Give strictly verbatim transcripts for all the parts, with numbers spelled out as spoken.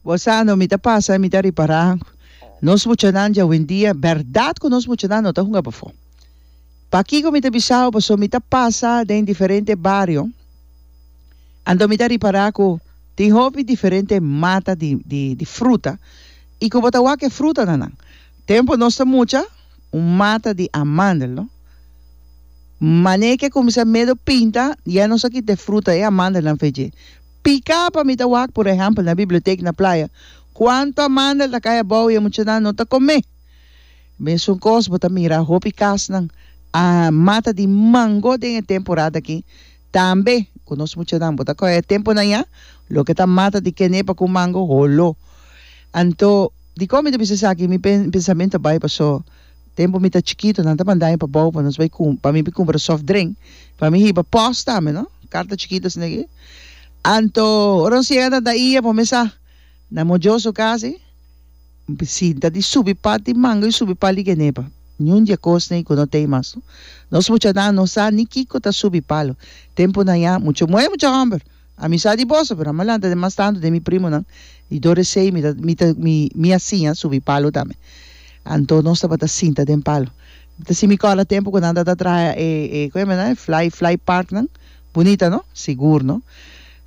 Bo sa no, mi ta pasa, mi ta ripará nos muchanan djawendia, bèrdat ku nos muchanan no ta hunga pafó. Pakiko mi ta bisa bo? Pasobra mi ta pasa den diferente bario, anto mi ta ripará ku tin hopi diferente mata di di di fruta i ku bo ta wak e frutanan nan. Tempu nos ta mucha, un mata di amandel, no? Manera ke kuminsá medio pinta, ya nos a kita e fruta, e amandelnan fe dje. Piká pa mi ta wak, por ehèmpel, na bibliotek na Playa, kuantu amandel ta kai abou i e muchanan no ta komé. Mesun kos bo ta mira hopi kasnan a mata di mango den e temporada aki. Tambe ku nos muchanan bo ta kohe e tempunan ya, loke ta mata di kenepa ku mango holo. Anto, dikon mi ta bisa esaki? Mi pensamentu a bai paso tempu mi ta chikitu nan ta manda mi pa bou pa nos bai pa mi bai kumpra soft drink pa mi hiba pòst tambe no, karta chikitu asina aki. Anto ora nos yega na Daia bo mesa na Mojoso kasi sinta di subi pal di mango i subi pal di kenepa. Niun di e kosnan ei ku no tei mas no. Nos muchanan no sa ni kiko ta subi palo. Tempunan ya mucha muhé mucha hòmber. Ami sa di boso, pero ami a lanta den mas tantu den mi primonan i dor esei mi ta mi ta mi mi a siña subi palo tambe. Anto nos tabata sinta den palo. Mi ta sinti mi kòrda tempu ku nan tabata traha e e ku yama nan e fly fly parknan. Bunita no? Sigur no?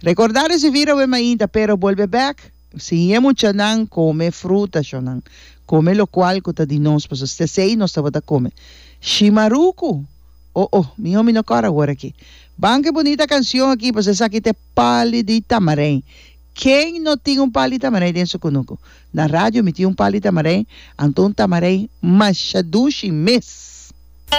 Recordar es vivir awe mainta pero bolbe bek siña e muchanan come fruta shonan come locual cu ta di nos pasobra si esey nos tabata come shimarucu oh oh miho mi no cora awor aki ban cu e bunita cancion aki pasobra esaki ta e pali di tamarijn ken no tin un pali tamarijn den su cunucu na radio mi tin un pali tamarijn anto un tamarijn masha dushi mes.